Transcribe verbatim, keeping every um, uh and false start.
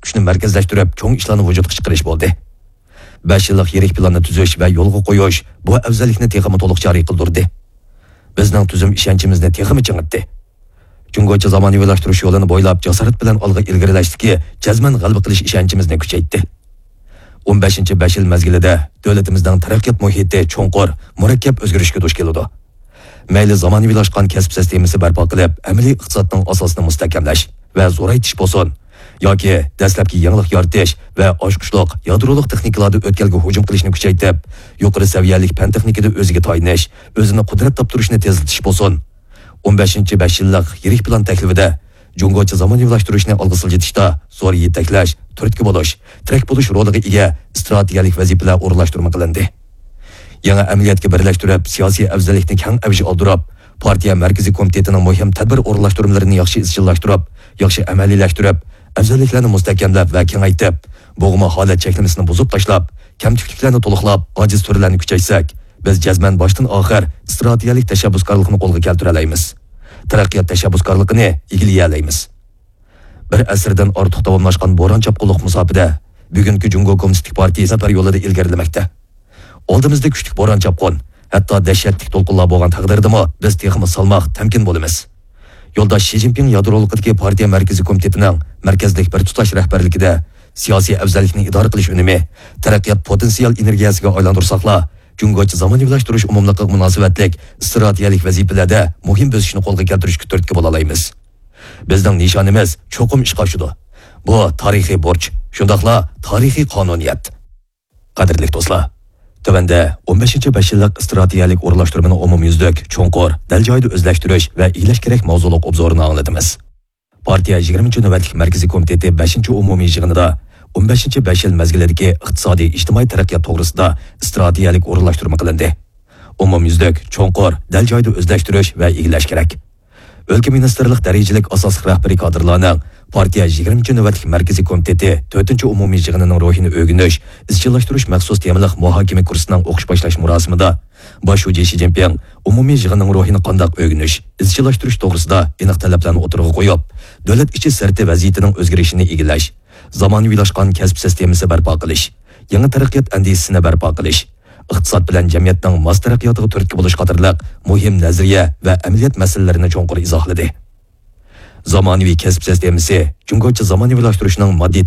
كۈچنى مەركەزلەشتۈرۈپ، چوڭ ئىشلارنى ۋۇجۇدقا چىقىرىش بولدى. بەش يىللىق يىرىك پىلاننى تۈزۈش ۋە يولغا قويۇش بۇ ئەۋزەللىكنى تېخىمۇ تولۇق جارى قىلدۇردى. بىزنىڭ تۈزۈم ئىشەنچىمىزنى تېخىمۇ چىڭىتتى. جۇڭگوچە زامانىۋىلاشتۇرۇش يولىنى بويلاپ جاسارەت بىلەن ئالغا ئىلگىرىلەشتىكى جەزمەن غەلىبە قىلىش ئىشەنچىمىزنى كۈچەيتتى. ئون بەشىنچى بەش يىل مەزگىلىدە دۆلىتىمىزنىڭ تەرەققىيات مۇھىتى چوڭقۇر، مۇرەككەپ ئۆزگىرىشكە دۇچ كېلىدۇ. مەيلى زامانىۋىلاشقان كەسىپ سىستېمىسى بەرپا قىلىپ، ئەمەلىي ئىقتىسادنىڭ ئاساسىنى مۇستەھكەملەش ۋە زورايتىش بولسۇن، ياكى دەسلەپكى يېڭىلىق يارىتىش ۋە ئاچقۇچلۇق يادرولۇق تېخنىكىلاردا ئۆتكەلگە ھۇجۇم قىلىشنى كۈچەيتىپ، يۇقىرى سەۋىيەلىك پەن تېخنىكىدا ئۆزىگە تايىنىش، ئۆزىنى قۇدرەت تاپتۇرۇشنى تېزلىتىش بولسۇن، ئون بەشىنچى بەش يىللىق يىرىك پىلان تەكلىپىدە جۇڭگوچە زامانىۋىلاشتۇرۇشنى ئالغا سىلجىتىشتا زور يېتەكلەش، تۈرتكە بولۇش، تىرەك بولۇش رولىغا ئىگە ئىستراتېگىيەلىك ۋەزىپىلەر ئورۇنلاشتۇرما قىلىندى. يېڭى ئەمەلىيەتكە بىرلەشتۈرۈپ، سىياسىي ئەۋزەللىكنى كەڭ ئەۋج ئالدۇرۇپ، پارتىيە مەركىزىي كومىتېتىنىڭ مۇھىم تەدبىر ئورۇنلاشتۇرمىلىرىنى ياخشى ئىزچىللاشتۇرۇپ، ياخشى ئەمەلىيلەشتۈرۈپ، ئەۋزەللىكلەرنى مۇستەھكەملەپ ۋە كېڭەيتىپ، بوغما ھالەت چەكلىمىسىنى بۇزۇپ تاشلاپ، كەمتۈكلۈكلەرنى تولۇقلاپ، ئاجىز تۈرلەرنى كۈچەيتسەك، بىز جەزمەن باشتىن ئاخىر ئىستراتېگىيەلىك تەشەببۇسكارلىقنى قولغا كەلتۈرەلەيمىز. تەرەققىيات تەشەببۇسكارلىقىنى ئىگىلىيەلەيمىز. بىر ئەسىردىن ئارتۇق داۋاملاشقان بوران چاپقۇنلۇق مۇساپىدە بۈگۈنكى جۇڭگو كوممۇنىستىك پارتىيە سەپەر يولىدا ئىلگىرىلىمەكتە. ئالدىمىزدا كۈچلۈك بوران چاپقۇن، ھەتتا دەھشەتلىك دولقۇنلار بولغان تەقدىردىمۇ بىز تېخىمۇ سالماق، تەمكىن بولىمىز. يولداش شى جىنپىڭ يادرولۇقىدىكى پارتىيە مەركىزىي كومىتېتىنىڭ مەركەزلىك بىر تۇتاش رەھبەرلىكىدە سىياسىي ئەۋزەللىكنى ئىدارە قىلىش ئۈنۈمى، تەرەققىيات پوتېنسىيال ئېنېرگىيەسىگە ئايلاندۇرساقلا، جۇڭگوچە زامانىۋىلاشتۇرۇش ئومۇملۇقىغا مۇناسىۋەتلىك ئىستراتېگىيەلىك ۋەزىپىلەردە مۇھىم بۆسۈشنى قولغا كەلتۈرۈشكە تۈرتكە بولالايمىز. بىزنىڭ نىشانىمىز چوقۇم ئىشقا ئاشىدۇ. بۇ تارىخىي بۇرچ، شۇنداقلا تارىخىي قانۇنىيەت. قەدىرلىك دوستلار، تۆۋەندە ئون بەشىنچى بەش يىللىق ئىستراتېگىيەلىك ئورۇنلاشتۇرمىنى ئومۇميۈزلۈك، چوڭقۇر، دەل جايىدا ئۆزلەشتۈرۈش ۋە ئىگىلەش كېرەك ماۋزۇلۇق ئوبزورىنى ئاڭلىتىمىز. پارتىيە يىگىرمىنچى نۆۋەتلىك مەركىزىي كومىتېتى بەشىنچى ئومۇمىي يىغىنىدا ئون بەشىنچى بەش يىل مەزگىلىدىكى ئىقتىسادىي، ئىجتىمائىي تەرەققىيات توغرىسىدا ئىستراتېگىيەلىك ئورۇنلاشتۇرما قىلىندى. ئومۇميۈزلۈك، چوڭقۇر، دەل جايىدا ئۆزلەشتۈرۈش ۋە ئىگىلەش كېرەك. ئۆلكە مىنىستىرلىق دەرىجىلىك ئاساسلىق رەھبىرىي كادىرلارنىڭ پارتىيە يىگىرمىنچى نۆۋەتلىك مەركىزىي كومىتېتى تۆتىنچى ئومۇمىي يىغىنىنىڭ روھىنى ئۆگىنىش، ئىزچىللاشتۇرۇش مەخسۇس تېمىلىق مۇھاكىمە كۇرسىنىڭ ئوقۇش باشلاش مۇراسىمىدا باش شۇجى شى جىنپىڭ ئومۇمىي يىغىننىڭ روھىنى قانداق ئۆگىنىش، ئىزچىللاشتۇرۇش توغرىسىدا ئېنىق تەلەپلەرنى ئوتتۇرىغا قويۇپ، دۆلەت ئىچى سىرتى ۋەزىيىتىنىڭ ئۆزگىرىشىنى ئىگىلەش، زامانىۋىلاشقان كەسىپ سىستېمىسى بەرپا قىلىش، يېڭى تەرەققىيات ئەندىزىسىنى بەرپا قىلىش، ئىقتىساد بىلەن جەمئىيەتنىڭ ماس تەرەققىياتىغا تۈرتكە بولۇش قاتارلىق مۇھىم نەزەرىيە ۋە ئەمەلىيەت مەسىلىلىرىنى چوڭقۇر ئىزاھلىدى. زامانىۋى كەسىپ سىستېمىسى جۇڭگوچە زامانىۋىلاشتۇرۇشنىڭ ماددىي